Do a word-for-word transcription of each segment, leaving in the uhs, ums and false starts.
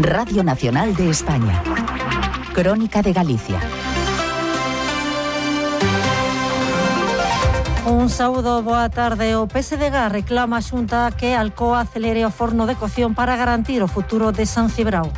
Radio Nacional de España. Crónica de Galicia. Un saúdo, boa tarde. O P S D G reclama a Xunta que Alcoa acelere o forno de cocción para garantir o futuro de San Cibrao.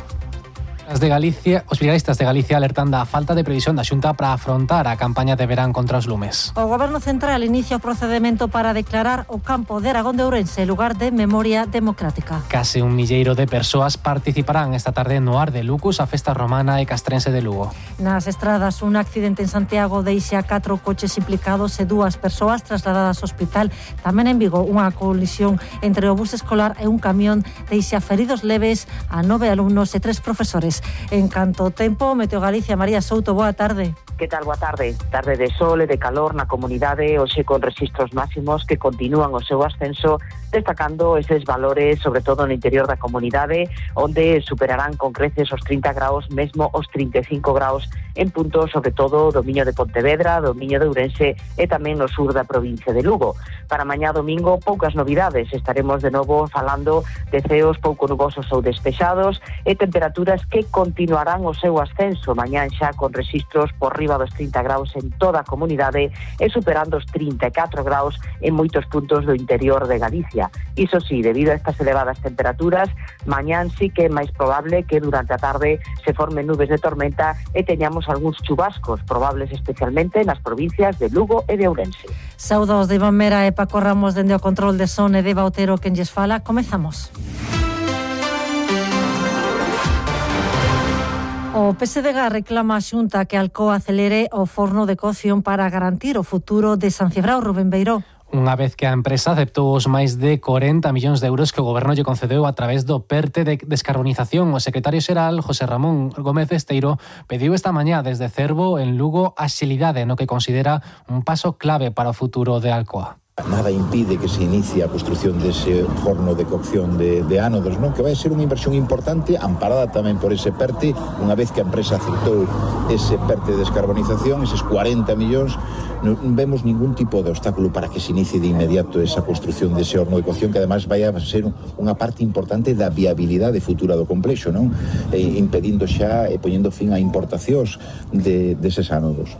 As de Galicia, os brigadistas de Galicia alertan da falta de previsión da Xunta para afrontar a campaña de verán contra os lumes. O Goberno Central inicia o procedemento para declarar o campo de Aragón de Ourense lugar de memoria democrática. Case un milleiro de persoas participarán esta tarde no Ar de Lucus, a festa romana e castrense de Lugo. Nas estradas, un accidente en Santiago deixa catro coches implicados e dúas persoas trasladadas ao hospital. Tamén en Vigo, unha colisión entre o bus escolar e un camión deixa feridos leves a nove alumnos e tres profesores. En canto ao tempo, Meteo Galicia, María Souto, boa tarde. Que tal, boa tarde? Tarde de sol e de calor na comunidade, hoxe con rexistros máximos que continúan o seu ascenso, destacando eses valores, sobre todo no interior da comunidade, onde superarán con creces os trinta graus, mesmo os trinta e cinco graus en puntos, sobre todo do Miño de Pontevedra, do Miño de Ourense e tamén no sur da provincia de Lugo. Para mañá domingo, poucas novidades. Estaremos de novo falando de ceos pouco nubosos ou despexados e temperaturas que continuarán o seu ascenso. Mañán xa con rexistros por riba dos trinta graus en toda a comunidade e superando os trinta e catro graus en moitos puntos do interior de Galicia. Iso sí, debido a estas elevadas temperaturas, mañán sí que é máis probable que durante a tarde se formen nubes de tormenta e teñamos algúns chubascos probables especialmente nas provincias de Lugo e de Ourense. Saudos de Iván Mera e Paco Ramos dende o control de son e de Bautero quen lles fala. Comezamos. O P S D G reclama a Xunta que Alcoa acelere o forno de cocción para garantir o futuro de San Cibrao. Rubén Beiró. Unha vez que a empresa aceptou os máis de corenta millóns de euros que o Goberno lle concedeu a través do PERTE de descarbonización, o secretario xeral, José Ramón Gómez Esteiro, pediu esta mañá desde Cervo, en Lugo, axilidade no que considera un paso clave para o futuro de Alcoa. Nada impide que se inicie a construción dese forno de cocción de, de ánodos, non? Que vai ser unha inversión importante, amparada tamén por ese PERTE, unha vez que a empresa aceptou ese PERTE de descarbonización, eses cuarenta millóns, non vemos ningún tipo de obstáculo para que se inicie de inmediato esa construción dese horno de cocción, que además vai a ser unha parte importante da viabilidade futura do complexo, non? E, impedindo xa e poñendo fin a importacións de, deses ánodos.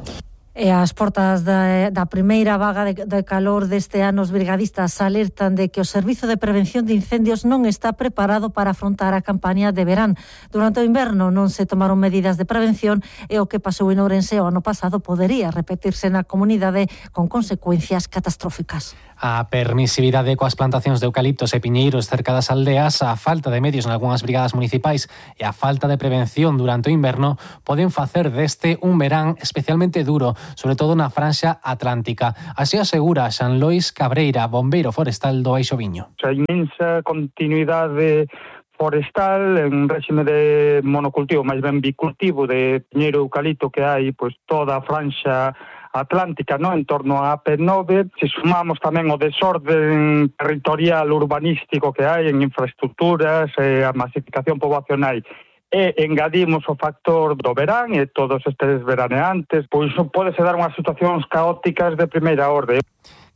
E as portas da, da primeira vaga de, de calor deste ano, os brigadistas alertan de que o Servizo de Prevención de Incendios non está preparado para afrontar a campaña de verán. Durante o inverno non se tomaron medidas de prevención e o que pasou en Ourense o ano pasado podería repetirse na comunidade con consecuencias catastróficas. A permisividade coas plantacións de eucaliptos e piñeiros cerca das aldeas, a falta de medios nalgúnas brigadas municipais e a falta de prevención durante o inverno poden facer deste un verán especialmente duro, sobre todo na franxa atlántica. Así asegura Xan Lois Cabreira, bombeiro forestal do Baixo Viño. A inmensa continuidade forestal en réxime de monocultivo, máis ben bicultivo de piñeiro e eucalipto que hai, pois toda a franxa atlántica, no, en torno á A P nove, se sumamos tamén o desorden territorial urbanístico que hai en infraestructuras, eh, a masificación poboacional, e engadimos o factor do verán e todos estes veraneantes, pois pode se dar unhas situacións caóticas de primeira orde.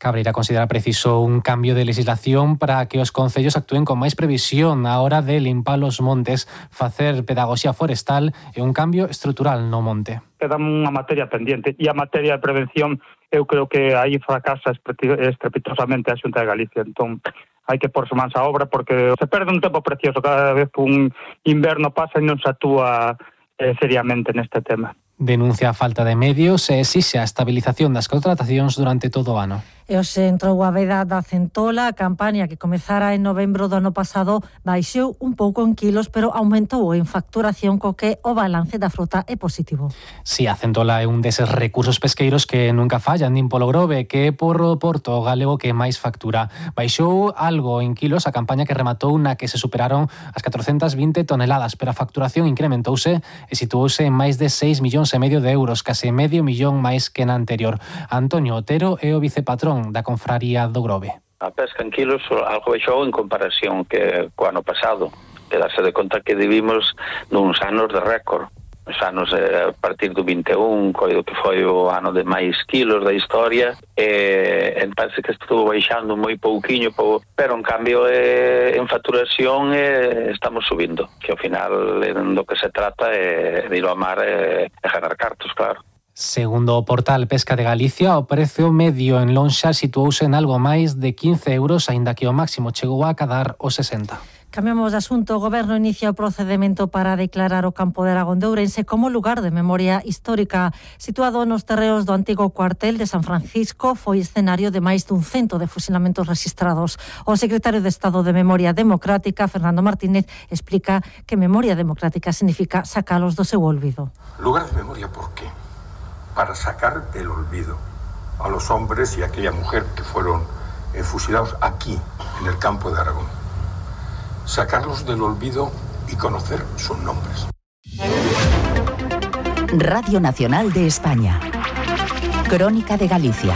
Cabreira considera preciso un cambio de legislación para que os concellos actúen con máis previsión á hora de limpar os montes, facer pedagogía forestal e un cambio estrutural no monte. Queda unha materia pendiente e a materia de prevención eu creo que aí fracasa estrepitosamente a Xunta de Galicia. Entón, hai que porse mans á obra porque se perde un tempo precioso cada vez que un inverno pasa e non se actúa eh, seriamente neste tema. Denuncia a falta de medios e exixe a estabilización das contratacións durante todo o ano. E hoxe entrou a veda da centola, a campaña que comezara en novembro do ano pasado baixou un pouco en kilos, pero aumentou en facturación co que o balance da fruta é positivo. Si, a centola é un deses recursos pesqueiros que nunca fallan, nin polo Grove, que é por o porto galego que máis factura. Baixou algo en kilos a campaña que rematou na que se superaron as catrocentas vinte toneladas, pero a facturación incrementouse e situouse en máis de seis millóns e medio de euros, case medio millón máis que na anterior. Antonio Otero é o vicepatrón da Confraría do Grove. A pesca en kilos algo baixou en comparación que co ano pasado. E darse de conta que vivimos nuns anos de récord. os anos eh, a partir do vinte e un, coido que foi o ano de máis kilos da historia, e eh, parece que estuvo baixando moi pouquiño, pou, pero en cambio eh, en facturación eh, estamos subindo, que ao final eh, do que se trata é de ir ao mar e eh, ganar cartos, claro. Segundo o portal Pesca de Galicia, o prezo medio en lonxa situouse en algo máis de quince euros, aínda que o máximo chegou a cadar os sesenta. Cambiamos de asunto. O Goberno inicia o procedemento para declarar o campo de Aragón de Ourense como lugar de memoria histórica. Situado nos terreos do antigo cuartel de San Francisco, foi escenario de máis dun cento de fusilamentos registrados. O secretario de Estado de Memoria Democrática, Fernando Martínez, explica que memoria democrática significa sacalos do seu olvido. Lugar de memoria, ¿por qué? Para sacar del olvido a los hombres y a aquella mujer que fueron eh, fusilados aquí, en el campo de Aragón. Sacarlos del olvido y conocer sus nombres. Radio Nacional de España. Crónica de Galicia.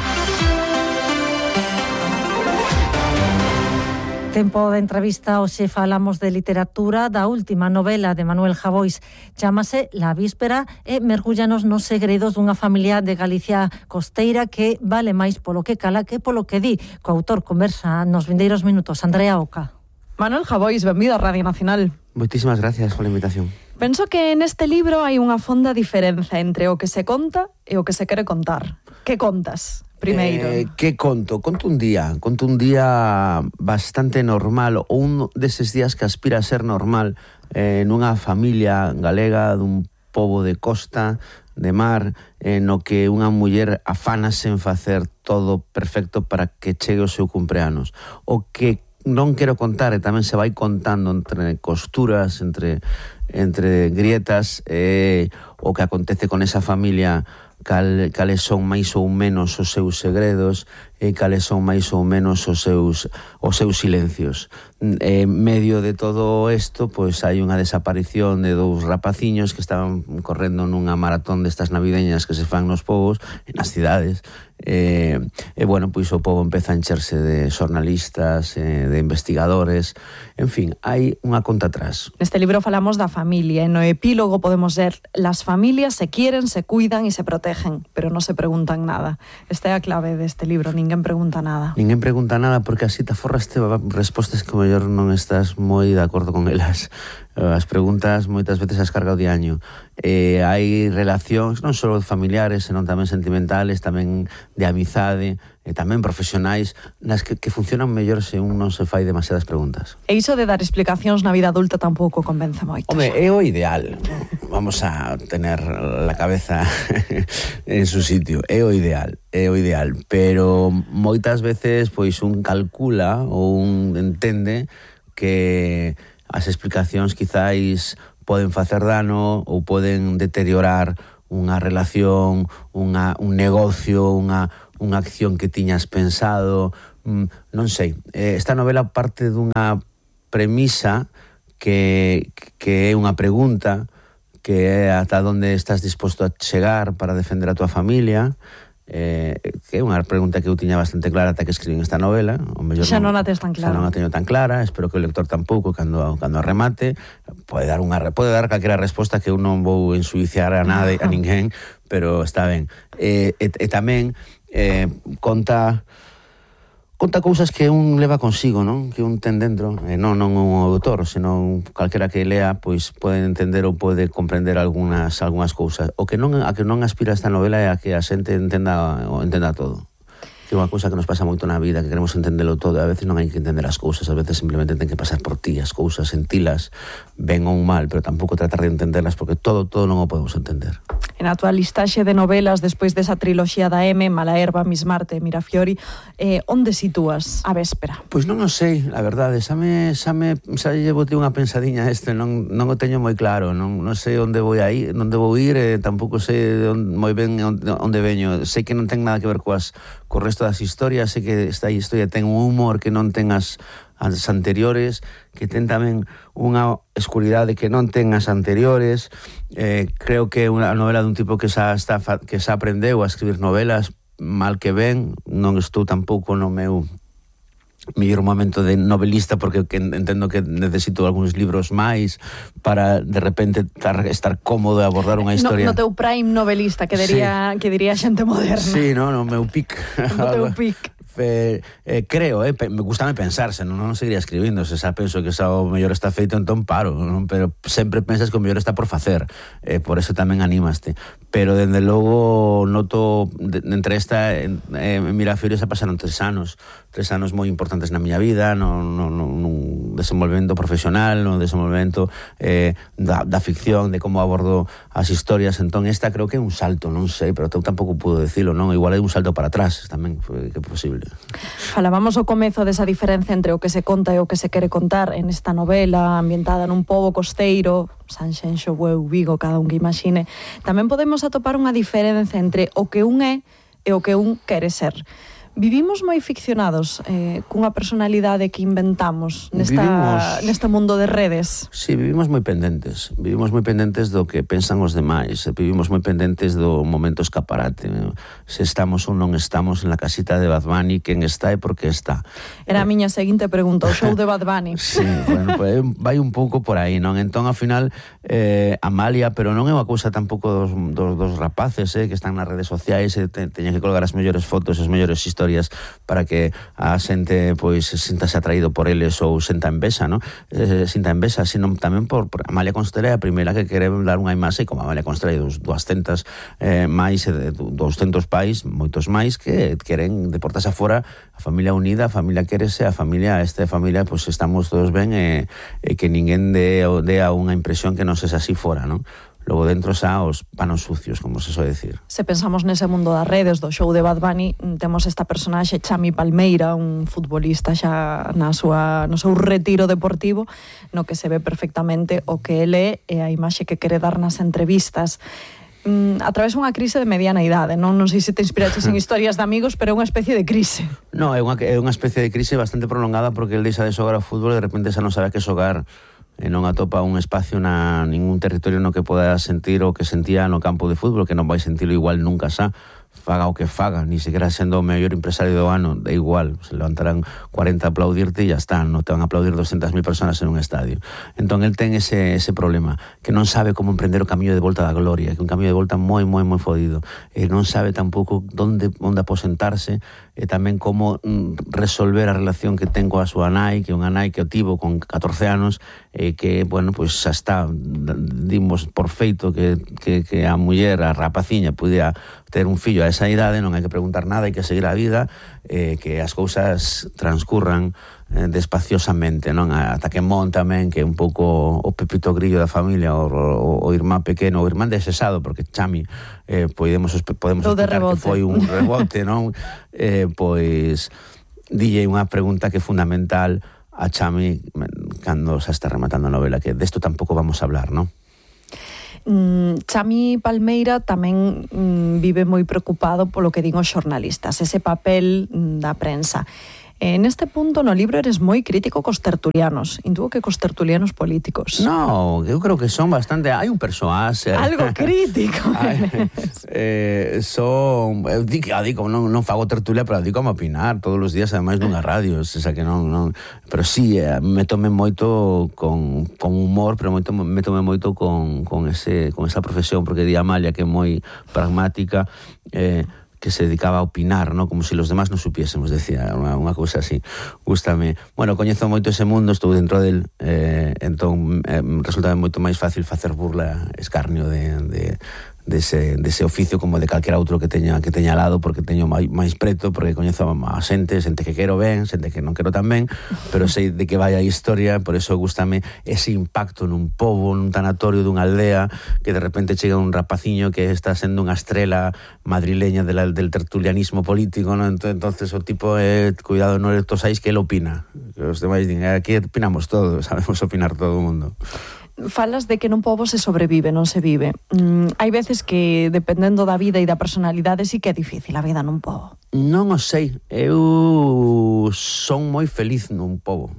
Tempo de entrevista, hoxe falamos de literatura, da última novela de Manuel Javois. Chámase La Víspera e mergúllanos nos segredos dunha familia de Galicia costeira que vale máis polo que cala que polo que di. Co autor conversa nos vindeiros minutos, Andrea Oca. Manuel Javois, benvido a Radio Nacional. Moitísimas gracias pola invitación. Penso que neste libro hai unha fonda diferenza entre o que se conta e o que se quere contar. Que contas, primeiro? Eh, que conto? Conto un día. Conto un día bastante normal, ou un deses días que aspira a ser normal eh, nunha familia galega dun pobo de costa, de mar, eh, no que unha muller afánase en facer todo perfecto para que chegue o seu cumpleanos. O que non quero contar, e tamén se vai contando entre costuras, entre, entre grietas, eh, o que acontece con esa familia, cal, cales son máis ou menos os seus segredos, e cales son máis ou menos os seus, os seus silencios. En medio de todo isto, pois hai unha desaparición de dous rapaciños que estaban correndo nunha maratón destas navideñas que se fan nos povos, nas cidades. E, e bueno, pois o pobo empeza a encherse de xornalistas, eh, de investigadores, en fin, hai unha conta atrás. Neste libro falamos da familia, e no epílogo podemos ver: las familias se quieren, se cuidan e se protegen, pero non se preguntan nada. Esta é a clave deste libro, ninguén pregunta nada. Ninguén pregunta nada porque así te aforraste respostas que mellor non estás moi de acordo con elas. As preguntas moitas veces as carga o diaño. Eh, hai relacións non só familiares, senón tamén sentimentales, tamén de amizade, e tamén profesionais, nas que, que funcionan mellor se un non se fai demasiadas preguntas. E iso de dar explicacións na vida adulta tampouco convence moito. Home, é o ideal. Vamos a tener la cabeza en su sitio. É o ideal, é o ideal. Pero moitas veces pois un calcula ou un entende que as explicacións quizáis poden facer dano ou poden deteriorar unha relación, unha, un negocio, unha, unha acción que tiñas pensado. Mm, non sei. Eh, esta novela parte dunha premisa que, que é unha pregunta, que é ata onde estás disposto a chegar para defender a tua familia. Eh, que é unha pregunta que eu tiña bastante clara ata que escribín esta novela. O mellor xa non a tes tan clara. Xa non a teño tan clara, espero que o lector tampouco, cando, cando a remate pode dar unha pode dar calquera resposta que eu non vou ensuiciar a nada, a ninguén, pero está ben. E, e, e tamén eh, conta conta cousas que un leva consigo, non? Que un ten dentro, e non, non un autor, senón calquera que lea, pois pode entender ou pode comprender algunhas algunhas cousas. O que non a que non aspira esta novela é a que a xente entenda o entenda todo. Que é unha cousa que nos pasa moito na vida, que queremos entendelo todo, a veces non hai que entender as cousas, a veces simplemente ten que pasar por ti as cousas, sentilas, ben ou mal, pero tampouco tratar de entenderlas, porque todo, todo non o podemos entender. En a tua listaxe de novelas, despois desa triloxía da M, Malaherba, Miss Marte, Mirafiori, eh, onde sitúas A Véspera? Pois non o sei, a verdade, xa me, xa me, xa llevo unha pensadinha este, non, non o teño moi claro, non, non sei onde vou a ir, onde vou ir, eh, tampouco sei onde, moi ben onde, onde veño, sei que non ten nada que ver coas, co resto das historias, sei que esta historia ten un humor que non ten as, as anteriores, que ten tamén unha escuridade que non ten as anteriores. Eh, creo que é unha novela dun tipo que xa, está, que xa aprendeu a escribir novelas, mal que ben, non estou tampouco no meu mellor momento de novelista, porque que entendo que necesito algúns libros máis para de repente estar, estar cómodo e abordar unha historia. No, no teu prime novelista, que diría, sí. que diría xente moderna. Sí, no, no meu pic. No teu pic. Eh, eh, creo, eh, me gustame pensarse, non, non seguiría escribindo, se xa penso que xa o mellor está feito, entón paro, non? Pero sempre pensas que o mellor está por facer, eh, por eso tamén animaste. Pero dende logo noto de, de entre esta eh, en Mirafiori xa pasaron tres anos, tres anos moi importantes na miña vida, no, no, no, no desenvolvemento profesional, no desenvolvemento eh, da, da ficción, de como abordo as historias. Entón esta creo que é un salto, non sei, pero eu tampouco puedo decirlo, non? Igual é un salto para atrás tamén, que é posible. Falábamos ao comezo desa diferencia entre o que se conta e o que se quere contar en esta novela ambientada nun pobo costeiro, Sanxenxo, Bueu, Vigo, cada un que imagine. Tamén podemos atopar unha diferencia entre o que un é e o que un quere ser. Vivimos moi ficcionados eh, cunha personalidade que inventamos nesta, vivimos, neste mundo de redes. Sí, vivimos moi pendentes. Vivimos moi pendentes do que pensan os demais. Vivimos moi pendentes do momento escaparate. Se estamos ou non estamos en la casita de Bad Bunny, quen está e por que está. Era a miña seguinte pregunta, o show de Bad Bunny. Sí, bueno, pues, vai un pouco por aí, non? Entón, ao final, eh, Amalia, pero non é unha cousa tampouco dos, dos, dos rapaces eh, que están nas redes sociais e te, teñen que colgar as mellores fotos, as mellores historias para que a xente pois sintase atraído por eles ou senta envexa, non? Eh, sinta envexa, sino tamén por, por Amalia Constela é a primeira que quere dar unha imaxe, como Amalia Constela e dos duascentos eh, máis, eh, douscentos pais, moitos máis que queren deportarse afora, a familia unida, a familia quérese, a familia, esta familia, pois estamos todos ben e, e que ninguén dé, dé a unha impresión que non sexa así fora, non? Logo dentro xa os panos sucios, como se soe decir. Se pensamos nese mundo das redes, do show de Bad Bunny, temos esta personaxe Chami Palmeira, un futbolista xa na súa, no seu retiro deportivo, no que se ve perfectamente o que ele é e a imaxe que quere dar nas entrevistas. Mm, a través unha crise de mediana idade, non, non sei se te inspiraches en historias de amigos, pero é unha especie de crise. No, é unha, é unha especie de crise bastante prolongada porque ele deixa de xogar ao fútbol e de repente xa non sabe a que xogar. E non atopa un espacio na ningún territorio no que poda sentir o que sentía no campo de fútbol, que non vai sentirlo igual nunca xa, faga o que faga, ni sequera sendo o mellor empresario do ano, da igual, se levantarán cuarenta a aplaudirte e ya está, non te van a aplaudir doscientas mil personas en un estadio. Entón, el ten ese, ese problema, que non sabe como emprender o camiño de volta da gloria, que un camiño de volta moi, moi, moi fodido, e non sabe tampouco onde, onde aposentarse, e tamén como mm, resolver a relación que ten coa súa nai, que é unha nai que o tivo con catorce anos, e que, bueno, pois xa está, dimos por feito que, que, que a muller, a rapaciña, pudiera ter un fillo a esa idade, non hai que preguntar nada, hai que seguir a vida, eh, que as cousas transcurran eh, despaciosamente, non? Ata que mon tamén, que é un pouco o pepito grillo da familia, o, o, o irmán pequeno, o irmán desesado, porque Chami, eh, podemos, podemos explicar que foi un rebote, non? Eh, pois, dille unha pregunta que é fundamental a Chami cando xa está rematando a novela, que desto tampouco vamos a hablar, non? Mm, Chami Palmeira tamén mm, vive moi preocupado polo que din os xornalistas, ese papel mm, da prensa. En este punto no libro eres moi crítico cos tertulianos, intuo que cos tertulianos políticos. No, eu creo que son bastante... Hai un persoaxe... Algo crítico. Ay, eh, son... Eu digo, digo non, non fago tertulia, pero digo como opinar todos os días, ademais dunha radio, esa que non... non pero sí, eh, me tome moito con, con humor, pero moito, me tome moito con, con, ese, con esa profesión, porque di Amalia que é moi pragmática, eh, que se dedicaba a opinar, ¿no? Como se si los demás non supiésemos, decía, unha, unha cousa así. Gústame. Bueno, coñezo moito ese mundo, estou dentro del, eh, entón eh, resulta moito máis fácil facer burla, escarnio de, de, dese, dese oficio como de calquera outro que teña que teña al lado, porque teño máis, máis preto, porque coñezo a xente, xente que quero ben, xente que non quero tan ben, pero sei de que vai a historia, por eso gústame ese impacto nun pobo, nun tanatorio dunha aldea, que de repente chega un rapaciño que está sendo unha estrela madrileña de la, del tertulianismo político, ¿no? Entonces o tipo, eh, cuidado, non tosais que ele opina, que os demais din, aquí opinamos todos, sabemos opinar todo o mundo. Falas de que nun pobo se sobrevive, non se vive. Mm, hai veces que, dependendo da vida e da personalidade, sí que é difícil a vida nun pobo. Non o sei. Eu son moi feliz nun pobo.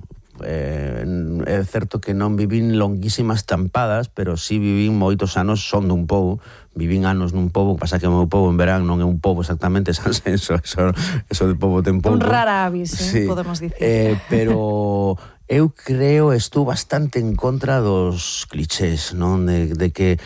eh, é certo que non vivín longuísimas tampadas, pero sí vivín moitos anos, son dun pobo, vivín anos nun pobo, pasa que o meu pobo en verán non é un pobo exactamente, Sanxenxo, eso, eso de pobo ten pouco. Un rara avis, eh, sí. podemos dicir. Eh, pero eu creo, estou bastante en contra dos clichés, non? De, de que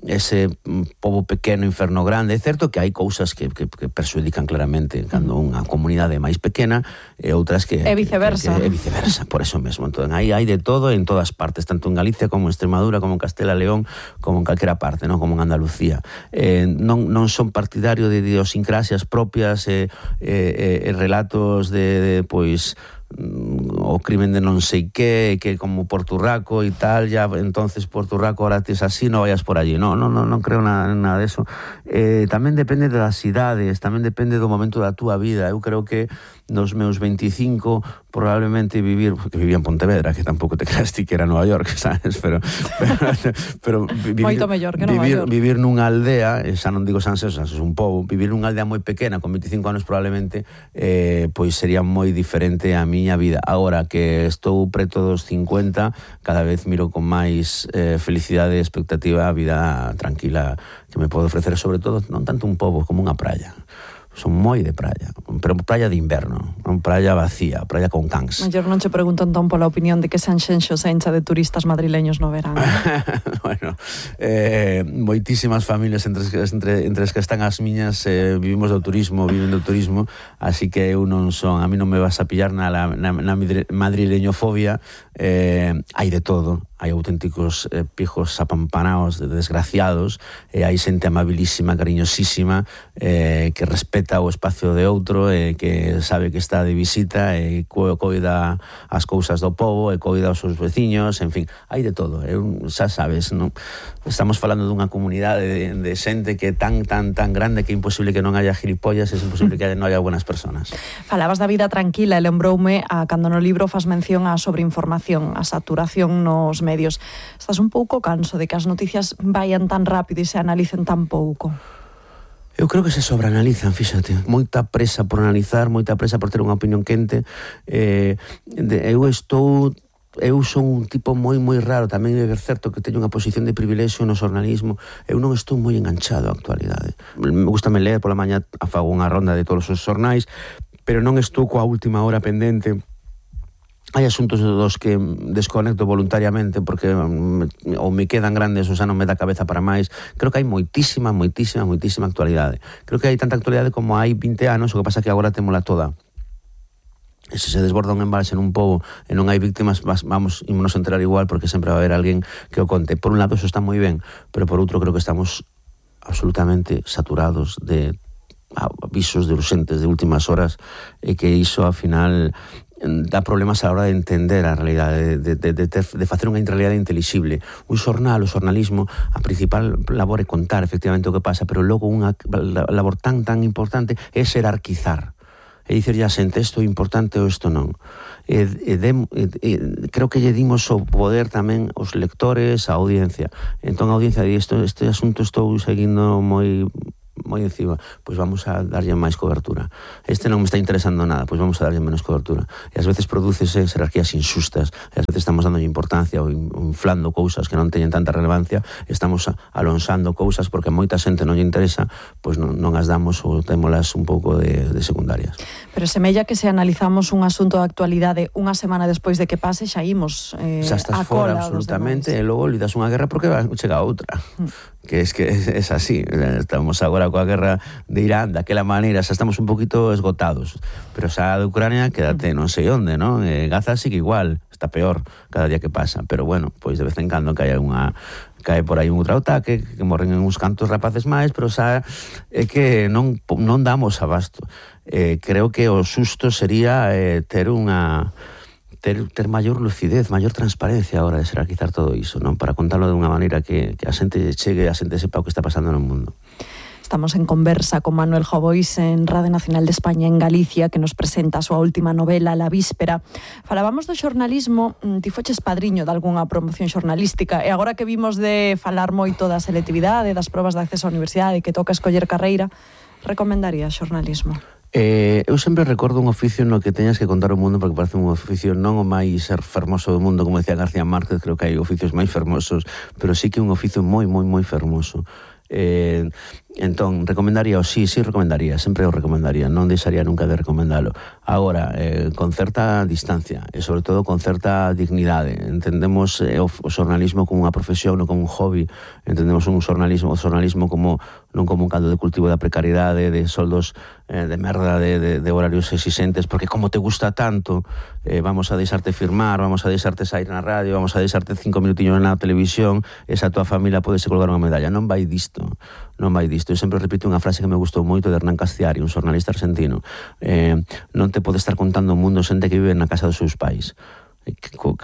ese pobo pequeno, inferno grande. É certo que hai cousas que, que, que perxudican claramente cando unha comunidade é máis pequena e outras que... E viceversa. É viceversa, por eso mesmo. Entón, aí hai de todo en todas partes, tanto en Galicia como en Extremadura, como en Castela León, como en calquera parte, non? Como en Andalucía. Eh, non, non son partidario de idiosincrasias propias e eh, eh, relatos de, de pois... o crimen de non sei que, que como Porturraco e tal, ya entonces Porturraco ahora tes así, non vayas por allí. No, no, no, non creo nada, nada de eso. Eh, tamén depende das idades, tamén depende do momento da túa vida. Eu creo que nos meus veinticinco probablemente vivir, porque vivía en Pontevedra, que tampouco te creas ti que era Nova York, sabes, pero pero, pero vivir, moito mellor que Nova vivir, York. Vivir nunha aldea, xa non digo Sanxenxo, Sanxenxo é un pobo, vivir nunha aldea moi pequena con veinticinco anos probablemente eh, pois sería moi diferente a miña vida. Agora que estou preto dos cincuenta, cada vez miro con máis eh, felicidade e expectativa a vida tranquila que me pode ofrecer, sobre todo non tanto un pobo como unha praia. Son moi de praia, pero praia de inverno, non praia vacía, praia con cans. Mellor non che pregunto entón pola opinión de que Sanxenxo se encha de turistas madrileños no verán. Bueno, eh, moitísimas familias entre, entre, entre as que están as miñas eh, vivimos do turismo, viven do turismo, así que eu non son, a mí non me vas a pillar na, na, na madrileñofobia, eh, hai de todo. Hai auténticos eh, pijos apampanados, desgraciados, e hai xente amabilísima, cariñosísima, eh, que respeta o espacio de outro, e eh, que sabe que está de visita, e co coida as cousas do pobo, e coida os seus veciños, en fin, hai de todo. Eu, xa sabes, non? Estamos falando dunha comunidade de, de xente que é tan, tan, tan grande que é imposible que non haya gilipollas, é imposible que non haya buenas personas. Falabas da vida tranquila e lembroume a cando no libro fas mención á sobreinformación, a saturación nos medios. Estás un pouco canso de que as noticias vayan tan rápido e se analicen tan pouco? Eu creo que se sobreanalizan, fíxate. Moita presa por analizar, moita presa por ter unha opinión quente. Eh, de, eu estou... Eu son un tipo moi, moi raro. Tamén é certo que teño unha posición de privilexio no xornalismo. Eu non estou moi enganchado á actualidade. Me gusta me ler pola mañá, afago unha ronda de todos os xornais, pero non estou coa última hora pendente. Hai asuntos dos que desconecto voluntariamente porque ou me quedan grandes ou xa non me dá cabeza para máis. Creo que hai moitísima, moitísima, moitísima actualidade. Creo que hai tanta actualidade como hai vinte anos, o que pasa que agora témola toda. E se se desborda un embalse nun pobo e non hai víctimas, vamos, ímonos a enterar igual porque sempre va a haber alguén que o conte. Por un lado, eso está moi ben, pero por outro creo que estamos absolutamente saturados de avisos de urxentes de últimas horas e que iso, ao final, dá problemas a la hora de entender a realidade, de, de, de, ter, de facer unha realidade intelixible. Un xornal, o xornalismo, a principal labor é contar efectivamente o que pasa, pero logo unha labor tan, tan importante é xerarquizar. É dicir, ya xente, isto é importante ou isto non. E, e, de, e, e, creo que lle dimos o poder tamén aos lectores, a audiencia. Entón a audiencia di, isto, este asunto estou seguindo moi... moi encima, pois vamos a darlle máis cobertura. Este non me está interesando nada, pois vamos a darlle menos cobertura. E ás veces prodúcese jerarquías injustas, e ás veces estamos dando importancia ou inflando cousas que non teñen tanta relevancia, e estamos alonsando cousas porque moita xente non lle interesa, pois non, non as damos ou témolas un pouco de, de secundarias. Pero semella que se analizamos un asunto de actualidade unha semana despois de que pase, xa imos eh, xa estás fora, absolutamente, e logo lidas unha guerra porque chega outra. Mm. Que es que es, es así. Estamos agora coa guerra de Irán daquela maneira, xa estamos un poquito esgotados, pero xa de Ucrania quédate non sei onde, non? Eh, Gaza sigue igual, está peor cada día que pasa, pero bueno, pois de vez en cando cae unha cae por aí un outro ataque, que morren en uns cantos rapaces máis, pero xa é que non, non damos abasto. Eh, creo que o susto sería eh, ter unha ter, ter maior lucidez, maior transparencia a hora de xerarquizar todo iso, non? Para contarlo de unha maneira que, que a xente chegue, a xente sepa o que está pasando no mundo. Estamos en conversa con Manuel Jovóis en Radio Nacional de España en Galicia, que nos presenta a súa última novela, La Víspera. Falábamos do xornalismo, ti foches padriño de algunha promoción xornalística, e agora que vimos de falar moito da selectividade, das probas de acceso á universidade, que toca escoller carreira, recomendaría xornalismo? Eh, eu sempre recordo un oficio no que teñas que contar o mundo, porque parece un oficio non o máis fermoso do mundo, como decía García Márquez. Creo que hai oficios máis fermosos, pero sí que un oficio moi, moi, moi fermoso. Eh, entón, recomendaría o sí, sí recomendaría, sempre o recomendaría, non deixaría nunca de recomendalo. Agora, eh, con certa distancia e sobre todo con certa dignidade. Entendemos eh, o, o xornalismo como unha profesión, non como un hobby. Entendemos un xornalismo, o xornalismo como non como un caldo de cultivo da precariedade, de soldos eh, de merda, de, de, de horarios exixentes, porque como te gusta tanto, eh, vamos a deixarte firmar, vamos a deixarte sair na radio, vamos a deixarte cinco minutiños na televisión, esa tua familia pode se colgar unha medalla. Non vai disto, non vai disto. Eu sempre repito unha frase que me gustou moito de Hernán Castiari, un xornalista argentino. Eh, non te pode estar contando o mundo xente que vive na casa dos seus pais.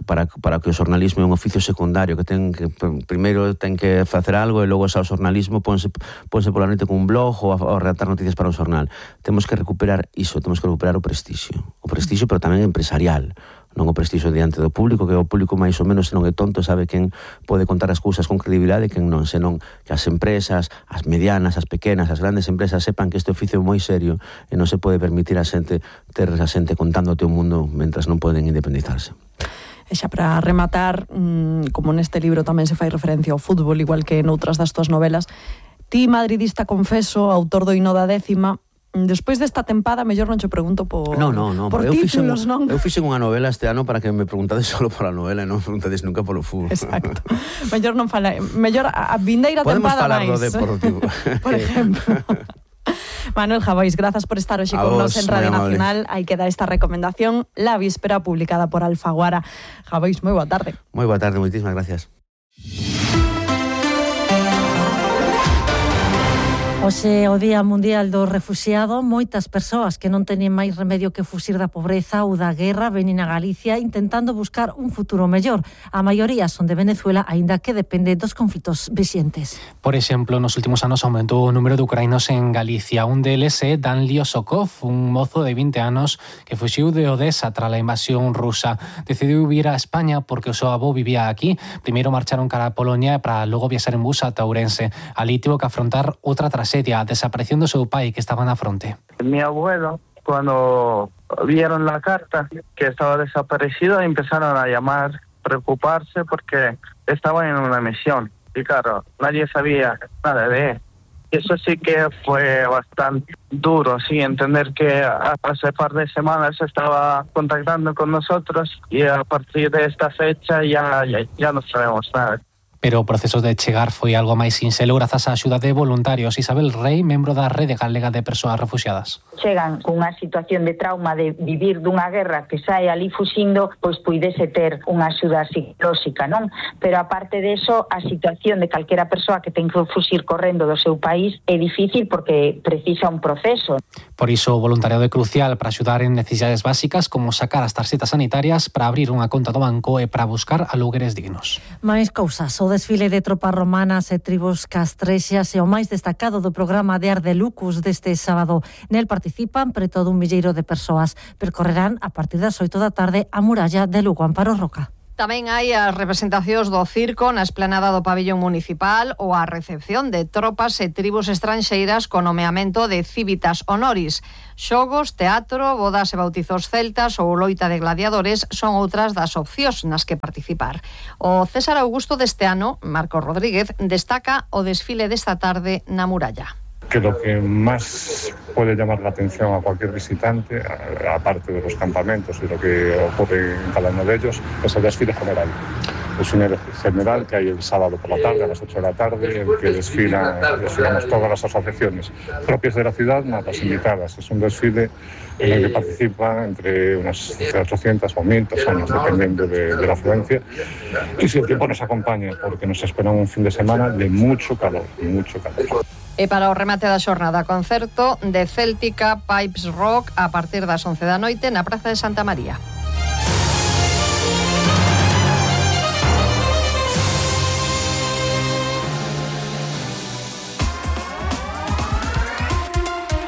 Para, para que o xornalismo é un oficio secundario, que ten que primeiro ten que facer algo e logo xa o xornalismo ponse, ponse pola noite con un blog ou a, a redactar noticias para un xornal. Temos que recuperar iso, temos que recuperar o prestixio. O prestixio, pero tamén empresarial. Non o prestixio diante do público, que o público máis ou menos, se non é tonto, sabe quen pode contar as cousas con credibilidade e quen non, senón que as empresas, as medianas, as pequenas, as grandes empresas sepan que este oficio é moi serio e non se pode permitir a xente ter a xente contándote o mundo mentras non poden independizarse. E xa para rematar, como neste libro tamén se fai referencia ao fútbol, igual que noutras das tuas novelas, ti, madridista confeso, autor do hino da décima, despois desta tempada, mellor non che pregunto por, no, no, no, por eu títulos, fixen, non? Eu fixen unha novela este ano para que me preguntades solo pola novela e non me preguntades nunca polo fútbol. Exacto. mellor non fala, mellor a vindeira tempada máis. Podemos falar do deportivo. Por exemplo. Manuel Jabais, grazas por estar hoxe con nos en Radio Nacional. Aí queda esta recomendación, La Víspera, publicada por Alfaguara. Jabais, moi boa tarde. Moi boa tarde, moitísimas gracias. Hoxe o Día Mundial do Refuxiado, moitas persoas que non teñen máis remedio que fuxir da pobreza ou da guerra veñen a Galicia intentando buscar un futuro mellor. A maioría son de Venezuela, aínda que depende dos conflitos vixentes. Por exemplo, nos últimos anos aumentou o número de ucranianos en Galicia. Un deles é Dan Liosokov, un mozo de vinte anos que fuxiu de Odessa tras a invasión rusa. Decidiu vir a España porque o seu avó vivía aquí. Primeiro marcharon cara a Polonia para logo viaxar en bus a Ourense. Ali tivo que afrontar outra trasedia, desaparición do seu pai que estaba na fronte. Mi abuelo, cuando vieron la carta que estaba desaparecido, empezaron a llamar, preocuparse porque estaba en una misión. Y claro, nadie sabía nada de él. Eso sí que fue bastante duro, sí, entender que hace par de semanas estaba contactando con nosotros y a partir de esta fecha ya, ya, ya no sabemos nada. Pero o proceso de chegar foi algo máis sinxelo grazas á axuda de voluntarios. Isabel Rey, membro da Rede Galega de Persoas Refuxiadas. Chegan cunha situación de trauma de vivir dunha guerra que sai ali fuxindo, pois puidese ter unha axuda psicolóxica, non? Pero aparte de eso, a situación de calquera persoa que ten que fuxir correndo do seu país é difícil porque precisa un proceso. Por iso o voluntariado é crucial para axudar en necesidades básicas como sacar as tarxetas sanitarias, para abrir unha conta do banco e para buscar alugueres dignos. Máis cousas. O desfile de tropas romanas e tribos castrexas é o máis destacado do programa de Arde Lucus deste sábado. Nel participan preto dun milleiro de persoas. Percorrerán a partir das oito da tarde a muralla de Lugo. Amparo Roca. Tamén hai as representacións do circo na esplanada do pabillón municipal ou a recepción de tropas e tribus estranxeiras con nomeamento de civitas honoris. Xogos, teatro, bodas e bautizos celtas ou loita de gladiadores son outras das opcións nas que participar. O César Augusto deste ano, Marcos Rodríguez, destaca o desfile desta tarde na muralla. Que lo que más puede llamar la atención a cualquier visitante, aparte de los campamentos y lo que ocurre en cada uno de ellos, es el desfile general. Es un desfile general que hay el sábado por la tarde, a las ocho de la tarde, en que desfilan, desfilamos todas las asociaciones propias de la ciudad, más las invitadas. Es un desfile en el que participan entre unas ochocientas o mil personas, dependiendo de, de la afluencia. Y si el tiempo nos acompaña, porque nos espera un fin de semana de mucho calor, mucho calor. E para o remate da xornada, concerto de Céltica Pipes Rock a partir das once da noite na Praza de Santa María.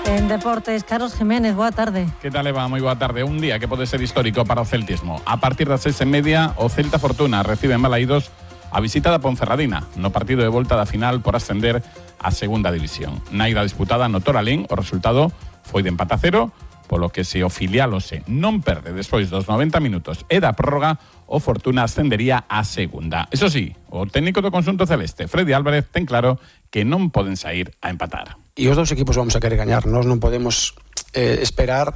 En deportes, Carlos Jiménez, boa tarde. Que tal, Eva? Moi boa tarde. Un día que pode ser histórico para o celtismo. A partir das seis e media, o Celta Fortuna recibe en Balaídos a visita da Ponferradina no partido de volta da final por ascender a segunda división. Na ida disputada no Toralín, o resultado foi de empate a cero, polo que se o filial Ose non perde despois dos noventa minutos e da prórroga, o Fortuna ascendería a segunda. Eso sí, o técnico do conxunto celeste, Freddy Álvarez, ten claro que non poden sair a empatar. E os dous equipos vamos a querer gañar, nós non podemos eh, esperar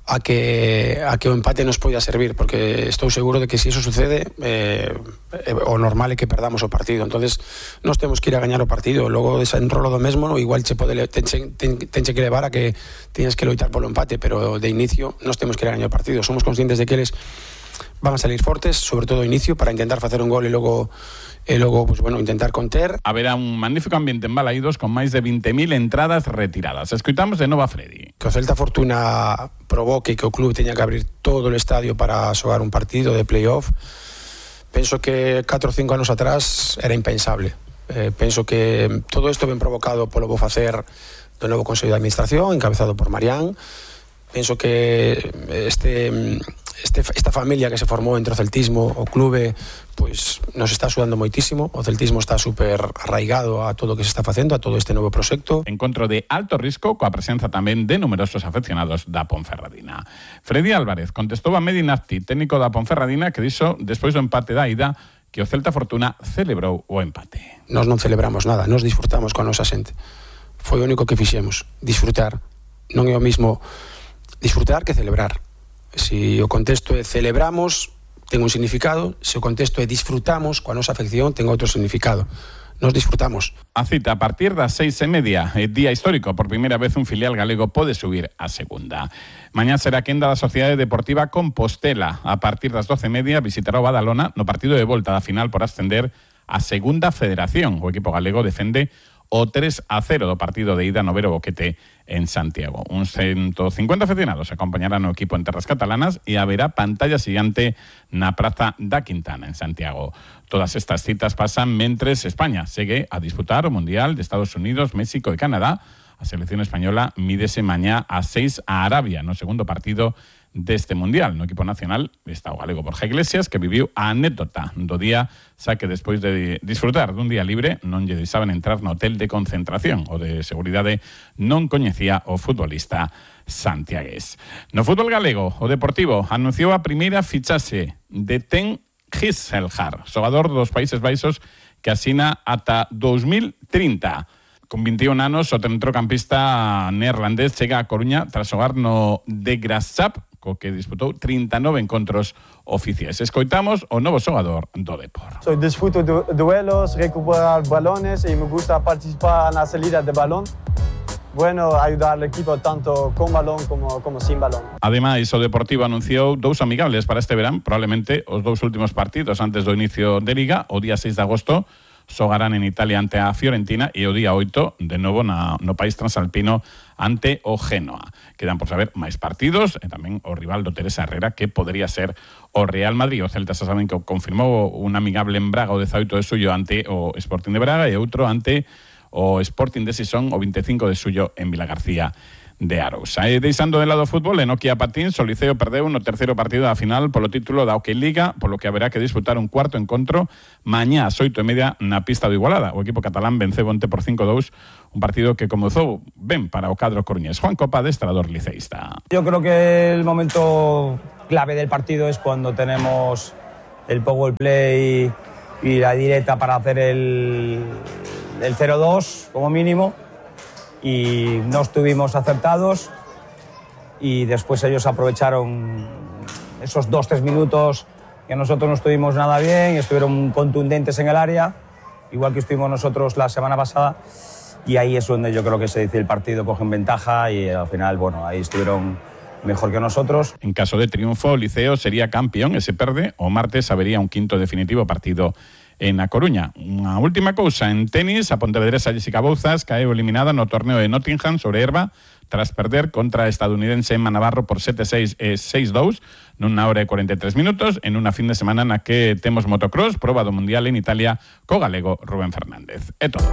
a que a que o empate nos poida servir, porque estou seguro de que se iso sucede eh, eh, o normal é que perdamos o partido. Entonces nós temos que ir a gañar o partido, logo desenrolo do mesmo, no, igual che pode tenche, ten, tenche que levar a que tienes que loitar polo empate, pero de inicio nós temos que ir a gañar o partido. Somos conscientes de que eles van a salir fortes, sobre todo ao inicio, para intentar facer un gol e logo e logo, pues, bueno, intentar conter. Haberá un magnífico ambiente en Balaídos con máis de vinte mil entradas retiradas. Escoitamos de novo a Freddy. Que o Celta Fortuna provoque que o club teña que abrir todo o estadio para xogar un partido de playoff, penso que catro ou cinco anos atrás era impensable. Eh, penso que todo isto ben provocado polo bo facer do novo Consello de Administración, encabezado por Marián. Penso que este, este, esta familia que se formou entre o celtismo, o clube, pois nos está axudando moitísimo. O celtismo está super arraigado a todo o que se está facendo, a todo este novo proxecto. Encontro de alto risco coa presenza tamén de numerosos afeccionados da Ponferradina. Freddy Álvarez contestou a Medi Nafti, técnico da Ponferradina, que dixo despois do empate da ida que o Celta Fortuna celebrou o empate. Nós non celebramos nada, nós disfrutamos con a nosa xente. Foi o único que fixemos, disfrutar. Non é o mismo disfrutar que celebrar. Se o contexto é celebramos, ten un significado. Se o contexto é disfrutamos coa nosa afección, ten outro significado. Nos disfrutamos. A cita a partir das seis e media, é día histórico, por primeira vez un filial galego pode subir a segunda. Mañá será a quenda da Sociedade Deportiva Compostela. A partir das doce e media visitará o Badalona no partido de volta da final por ascender a segunda federación. O equipo galego defende o tres a cero do partido de ida no Vero Boquete en Santiago. Uns ciento cincuenta aficionados acompañarán o equipo en terras catalanas e haberá pantalla xigante na Praza da Quintana en Santiago. Todas estas citas pasan mentres España segue a disputar o Mundial de Estados Unidos, México e Canadá. A selección española mídese mañá a seis a Arabia no segundo partido deste Mundial. No equipo nacional está o galego Borja Iglesias, que viviu a anécdota do día, xa que despois de disfrutar dun día libre non lle deixaban entrar no hotel de concentración. O de seguridade non coñecía o futbolista santiagués. No fútbol galego, o Deportivo anunciou a primeira fichaxe de Ten Gisselhar, xogador dos Países Baixos, que asina ata dos mil trinta. Con vinte e un anos, o centrocampista neerlandés chega a Coruña tras xogar no de Grassap, co que disputou trinta e nove encontros oficiais. Escoitamos o novo xogador do Depor. Soy disfruto de duelos, recuperar balones y me gusta participar na salida de balón. Bueno, ayudar al equipo tanto con balón como, como sin balón. Ademais, o Deportivo anunciou dous amigables para este verán, probablemente os dous últimos partidos antes do inicio de Liga, o día seis de agosto, xogarán en Italia ante a Fiorentina e o día oito, de novo na, no país transalpino, ante o Génova. Quedan por saber máis partidos e tamén o rival do Teresa Herrera, que podría ser o Real Madrid. O Celta xa saben que confirmou un amigable en Braga o dezaoito de suyo ante o Sporting de Braga e outro ante o Sporting de Sison o vinte e cinco de suyo en Vilagarcía de Arousa. E deixando de lado o fútbol, en Nokia Patins, o Liceo perdeu no terceiro partido da final polo título da Hockey Liga, polo que haberá que disputar un cuarto encontro mañá ás oito e media na pista do Igualada. O equipo catalán venceu onte por cinco a dous, un partido que comezou ben para o cadro coruñés. Juan Copa, adestrador liceísta. Yo creo que el momento clave del partido es cuando tenemos el power play y la directa para hacer el, el cero dos como mínimo. Y no estuvimos acertados y después ellos aprovecharon esos dos tres minutos que nosotros no estuvimos nada bien y estuvieron contundentes en el área, igual que estuvimos nosotros la semana pasada, y ahí es donde yo creo que se dice el partido, cogen ventaja y al final, bueno, ahí estuvieron mejor que nosotros. En caso de triunfo, o Liceo sería campeón e se perde, o martes habería un quinto definitivo partido en A Coruña. Unha última cousa, en tenis, a pontevedresa Jessica Bouzas caeu eliminada no torneo de Nottingham sobre herba tras perder contra a estadounidense Emma Navarro por sete seis e seis dous nunha hora e cuarenta e tres minutos en unha fin de semana na que temos motocross, proba do mundial en Italia co galego Rubén Fernández. É todo.